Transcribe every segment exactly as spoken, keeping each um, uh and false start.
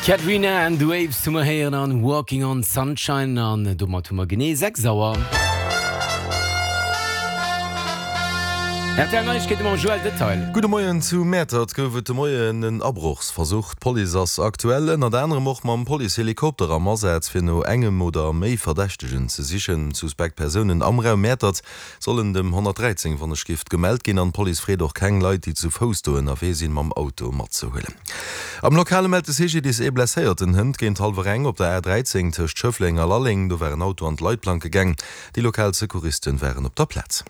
Katrina and the Waves hu mer héieren an Walking on Sunshine an domat hu mer genee sechs Auer. R T L Neiegkeete mam Joël Detail. Gudde Moien, Zu Mäertert gouf et de Moien en Abrochsversuch. D'Police ass aktuell ënnert anerem och mam Policehelikopter am Asaz, fir no engem oder méi Verdächtegen ze sichen. Suspekt Persounen am Raum Mäertert sollen dem honnertdräizéng Wonneschgift gemellt ginn an d'Police freet och keng Leit, déi zu Fouss do ënnerwee sinn, mam Auto matzehuelen. Am Lokale mellt de C G D I S ee Blesséierten hënt géint hallwer eng op der A dräizéng tëscht Schëffleng a Lalleng. Do war en Auto an d'Leitplanke gaang. Déi lokal Secouristen waren op der Plaz.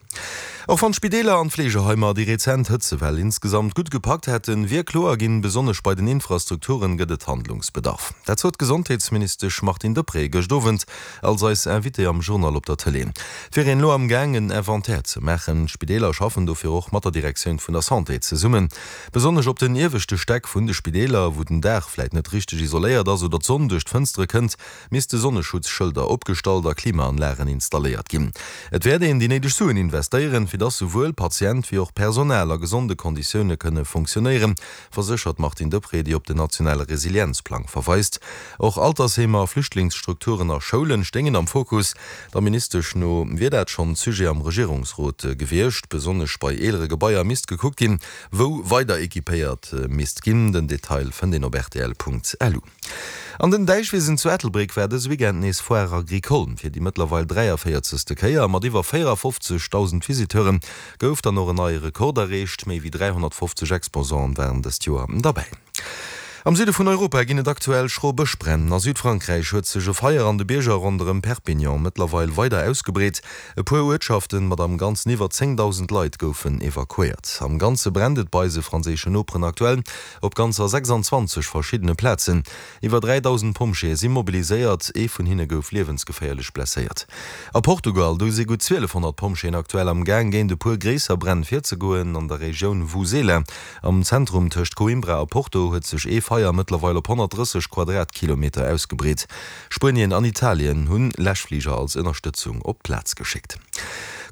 Och wann d'Spideeler an d'Fleegeheimer déi rezent Hëtzewell insgesamt gutt gepackt hätten, wier kloer ginn, besonnesch bei den Infrastrukturen gëtt et Handlungsbedarf. Dat sot d'Gesondheetsministesch Martine Deprez gëscht Owend als eis Invitée am Journal op der Tëlee. Et wier een elo am Gaang en Inventaire ze maachen. D'Spideeler schaffen dofir och mat der Direktioun vun der Santé zesummen. Besonnesch op den ieweschte Stäck vun de Spideeler, wou den Daach vläit net richteg isoléiert ass oder d'Sonn duerch d'Fënstere kënnt, misste Sonneschutzschëlder opgestallt a Klimaanlagen installéiert ginn. Et wäert een déi néideg Suen investéieren, fir dass souwuel Patient wéi och Personal a gesonde Konditioune kënne funktionéieren, verséchert d'Martine Deprez, déi op den nationale Resilienzplang verweist. Och Altersheemer, Flüchtlingsstrukturen a Schoulen stéingen am Fokus. Der Ministesch no wier dat schonn Sujet am Regierungsrot gewiescht. Besonnesch bei eelere Gebaier misst gekuckt ginn, wou weider equipéiert misst ginn. Den Detail fënnt een op rtl Punkt lu. An den Däichwisen zu Ettelbréck war dëse Weekend nees Foire Agricole. Fir déi mëttlerweil dräiavéierzegste Kéier, mat iwwer véierafofzegdausend Visiteure gouf dann och en neie Rekord erreecht. Méi wéi dräihonnertfofzeg Exposanten waren dëst Joer derbäi. Am Süde vun Europa ginn et aktuell schro Bëschbränn. A Südfrankräich huet sech e Feier an de Bierger ronderëm Perpignan mëttlerweil weider ausgebreet. E puer Uertschaften mat am Ganzen iwwer zéngdausend Leit goufen evakuéiert. Am Ganze brennt et bei eise franséischen Noperen aktuell op ganzer sechsanzwanzeg verschiddene Plazen. Iwwer dräidausend Pompjeeë si mobiliséiert, ee vun hinne gouf liewensgeféierlech blesséiert. A Portugal, do si gutt zwielefhonnert Pompjeeën aktuell am Gaang, géint e puer gréisser Bränn virzegoen. An der Regioun Vouzela, am Zentrum tëscht Coimbra a Porto, huet sech ee Feier mëttlerweil op honnertdrësseg Quadratkilometer ausgebreet. Spuenien an Italien hunn Läschfliger als Ënnerstëtzung op d'Plaz geschéckt.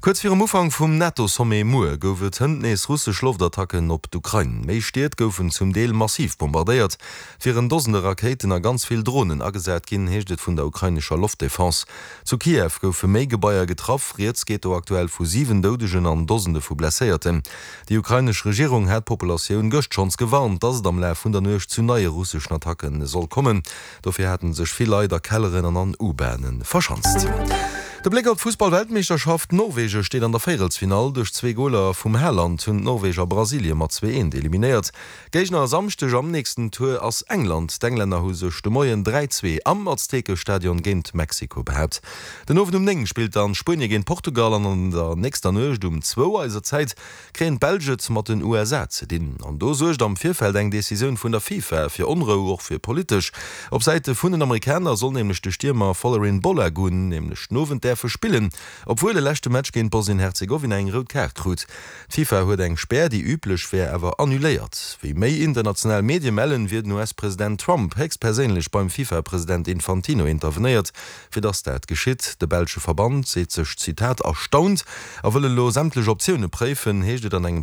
Kuerz virum Ufank vum NATO-Sommet muer gouf et hënt nees russesch Loftattacken op d'Ukrain. Méi Stied goufen zum Deel massiv bombardéiert. Et wieren Dosende Rakéiten a ganz vill Dronen agesat ginn, heescht et vun der ukrainescher Loftdefense. Zu Kiew goufe méi Gebaier getraff. Rieds geet do aktuell vu siwen Doudegen an Dosende vu Blesséierten. Déi ukrainesch Regierung hat d'Populatioun gëscht schonns gewarnt, dass et am Laf vun der Nuecht zu neie russeschen Attacke soll kommen. Dofir hate sech vill Leit a Kelleren an an U-Bahne verschanzt. De Bléck op d'Fussball-Weltmeeschterschaft, Norwege steet an der Véierelsfinall. Duerch zwee Goler vum Haaland hunn d'Norweger Brasilie mat zwee eent eliminéiert. Géigner e Samschdeg am nächsten Tour ass England. D'Englänner hu sech de Moien dräi zwee am Aztekestadion géint Mexiko behaapt. Den Owend um néng spillt dann Spuenie géint Portugal an an der nächster Nuecht um zwou eiser Zäit kréien d'Belsch et mat den U S A ze dinn. An do suergt am Virfeld eng Decisioun vun der FIFA fir Onrou, och fir politesch. Op Säite vun den Amerikaner soll nämlech de Stiermer Folarin Balogun nämlech den Owend däerfe spillen, obwuel e leschte Match géint Bosnien-Herzegowina eng rout Kaart krut. D'FIFA huet eng Spär, déi üblech wär, awer annuléiert. Wéi méi international Medie mellen, wier den U S-President Trump héchstperséinlech beim FIFA-President Infantino intervenéiert, fir dass dat geschitt. De belsche Verband seet sech, Zitat, erstaunt a wëll elo sämtlech Optioune préifen, heescht et an engem